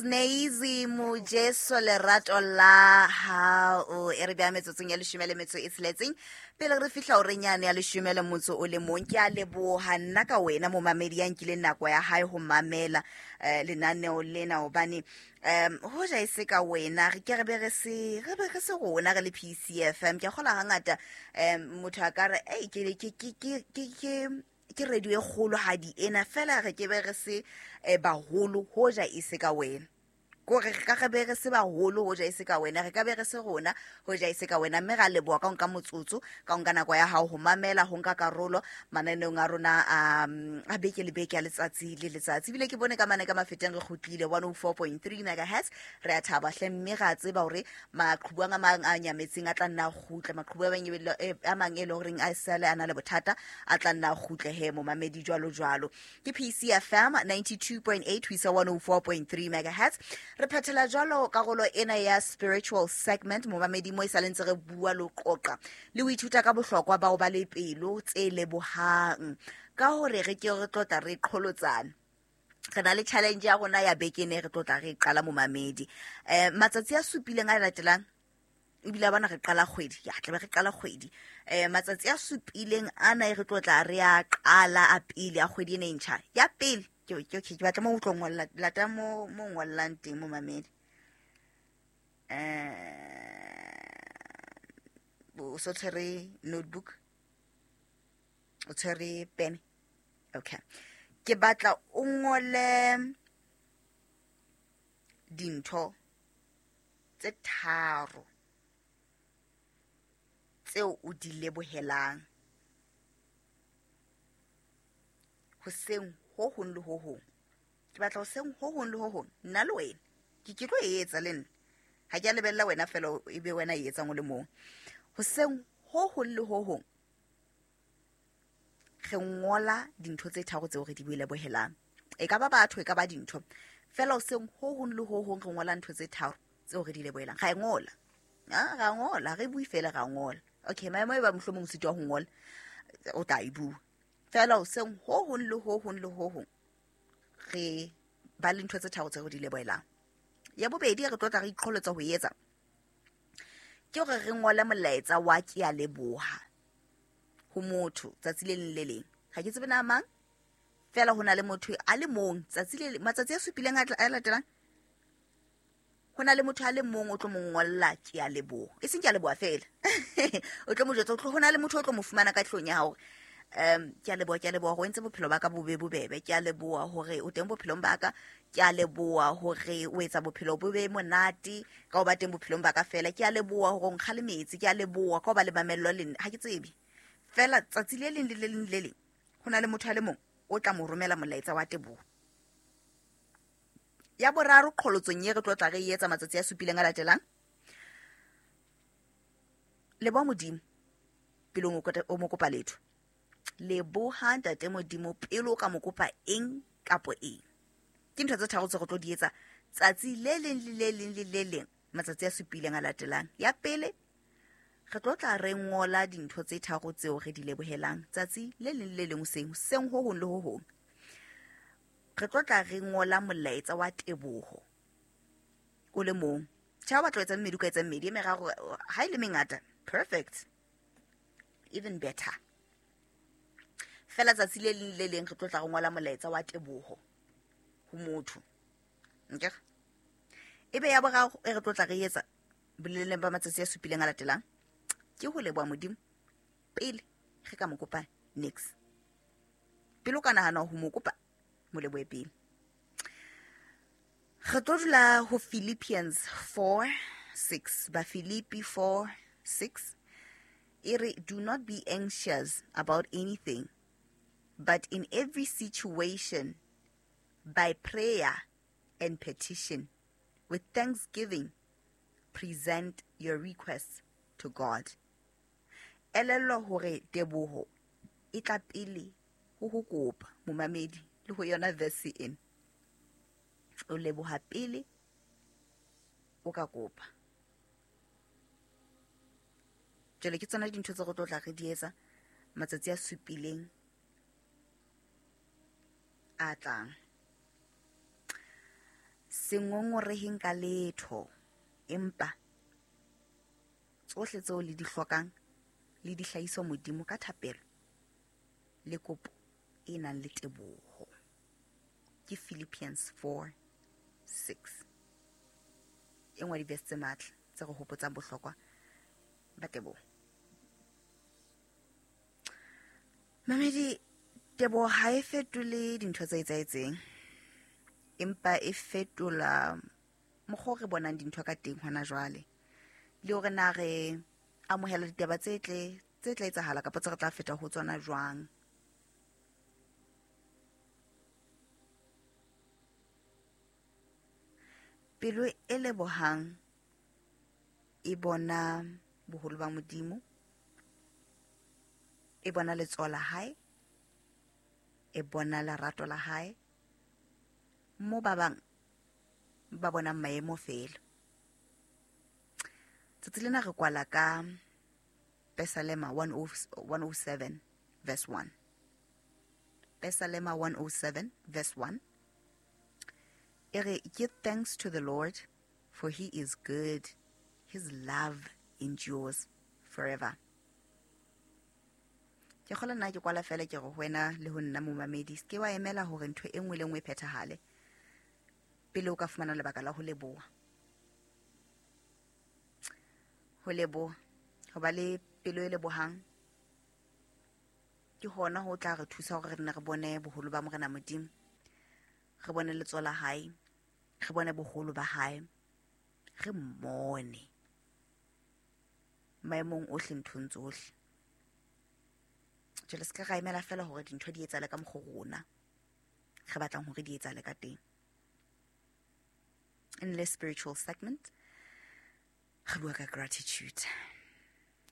Nazy Mojeso lerato la hao e re bea metsotsong ya leshome le metso e tsheletseng pele re fihla horeng yane ya leshome le motso o le mong. Ke a leboha nna ka wena momamedi ya nkileng nako ya hae ho mamela lenaneo lena, hobane hoja e se ka wena re ke re be re se re be re se rona re le PCFM. Ke a kgola hangata motho a ka re ei ke ke ke ke ke ke ke radio e kgolohadi ena, fela re ke be re se baholo hoja e se ka wena. Kore re ka re be re se baholo hoja e se ka wena, re ka be re se rona hoja e se ka wena. Mme ra leboha ka ho nka motsotso, ka ho nka nako ya hao ho mamela, ho nka karolo mananeong a rona a beke le beke, a letsatsi le letsatsi. Ebile ke bone ka mane ka Mafeteng re kgutlile 104.3 megahertz. Re a thaba hle, mme ra tseba hore maqhubu a mang a nyametseng a tla nna a kgutle, maqhubu a mang e leng horeng a sale a na le bothata a tla nna a kgutle he momamedi, jwalo jwalo. Ke PCFM 92.8 ho isa 104.3 megahertz. Re phethela jwalo karolo ena ya spiritual segment momamedi, mo e sa le ntse re bua le ho qoqa le ho ithuta ka bohlokwa bao ba le pelo tse lebohang, ka hore re ke re tlotla re qholotsana. Re na le challenge ya rona ya beke ne re tlotla re qala momamedi matsatsi a supileng a latelang. Ebile a bona re qala kgwedi ya tlabe re qala kgwedi matsatsi a supileng ana e re tlotla re a qala a pele a kgwedi ena e ntjha ya pele. Ke batla mo o tlo ngolla, lata mo mo ngollang teng momamedi. O so tshwere notebook, o tshwere pene? Okay, ke batla o ngole dintho tse tharo tseo o di lebohelang hoseng ho hong le ho hong. Ke batla hoseng ho hong le ho hong, nna le wena ke tlo e etsa le nna, ha ke a lebella wena fela e be wena e etsang o le mong. Hoseng ho hong le ho hong re ngola dintho tse tharo tseo re di lebohelang, e ka ba batho, e ka ba dintho fela. Hoseng ho hong le ho hong re ngola ntho tse tharo tseo re di lebohelang. Ra e ngola, ra ngola, re bue fela, ra ngola. Okay, maemo e ba mohlomong o sitwa ho ngola, o tla e bua fela. Hoseng ho hong le ho hong le ho hong re ba le ntho tse tharo tse re di lebohelang. Ya bobedi re tlo tla re iqholotsa ho etsa ke hore re ngole molaetsa wa ke a leboha ho motho tsatsi le leng le leng. Ga ke tsebe na mang, fela ho na le motho a le mong tsatsi le matsatsi a supileng a latelang, ho na le motho a le mong o tlo mo ngolla ke a leboha, e seng ke a leboha fela, o tlo mo jwetsa ho na le motho o tlo mo fumana ka tlong ya hao. Ke a leboha, ke a leboha hore o entse bophelo ba ka bo be bobebe, ke a leboha hore o teng bophelong ba ka, ke a leboha hore o etsa bophelo bo be monate ka ho ba teng bophelong ba ka fela, ke a leboha hore o nkgalemetse, ke a leboha ka ho ba le mamello le nna. Ha ke tsebe fela, tsatsi le leng le le leng le leng ho na le motho a le mong o tla mo romela molaetsa wa teboho. Ya boraro qholotsong ye re tlo tla re e etsa matsatsi a supileng a latelang, leboha Modimo pele o mo kopa letho. Leboha ntate Modimo pele o ka mo kopa eng kapo eng. Ke ntho tse tharo tse re tlo di etsa tsatsi le leng le le leng le le leng matsatsi a supileng a latelang. Ya pele re tlo tla re ngola dintho tse tharo tseo re di lebohelang tsatsi le leng le leng hoseng, hoseng ho hong le ho hong. Re tlo tla re ngola molaetsa wa teboho o le mong. Tjhe, ha o batla ho etsa mmedi, o ka etsa mmedi e meraro, ha e le mengata perfect, even better. Fela tsatsi le leng le leng re tlo tla re ngola molaetsa wa teboho ho motho. Nkere ebe ya boraro e re tlo tla re etsa boleleng ba matsatsi a supileng a latelang ke ho leboha Modimo pele re ka mo kopa nix. Pele o ka nahana ho mo kopa, mo lebohe pele. Re tlo dula ho Philippians 4:6, ba Philippi 4:6 e re, do not be anxious about anything, but in every situation by prayer and petition with thanksgiving present your requests to God. Elellwa hore teboho e tla pele ho ho kopa momamedi, le ho yona verse ena o leboha pele o ka kopa. Jwale ke tsona dintho tse re tlo tla re di etsa matsatsi a supileng a tlang. Se ngongoreheng ka letho, empa tsohle tseo le di hlokang le di hlahiswa Modimo ka thapelo le kopo e nang le teboho. Ke Philippians 4:6. E nngwe ya di-verse tse matla tse re hopotsang bohlokwa ba teboho. Mamedi, teboho ha e fetole dintho tse etsahetseng, empa e fetola mokgwa o re bonang dintho ka teng hona jwale, le hore na re amohela ditaba tse tle tse tla etsahala kapa tse re tla feta ho tsona jwang. Pelo e lebohang e bona boholo ba Modimo, e bona letsoho la hae, e bona lerato la hae, mo ba bang ba bonang maemo feela. Tsatsi lena re kwala ka Pesalema 107 verse 1. Pesalema 107 verse 1. E re, give thanks to the Lord, for he is good. His love endures forever. Ke kgola nna ke kwala fela ke re ho wena le ho nna momamedi, se ke wa emela hore ntho e nngwe le nngwe e phethahale pele o ka fumana lebaka la ho leboha. Ho leboha, ho ba le pelo e lebohang ke hona ho tla re thusa hore re nne re bone boholo ba Morena Modimo, re bone letsoho la hae, re bone boholo ba hae, re mmone maemong ohle, nthong tsohle. Jwale se ka ra emela fela hore dintho di etsahale ka mokgwa rona re batlang hore di etsahale ka teng. In the spiritual segment, re bua ka gratitude.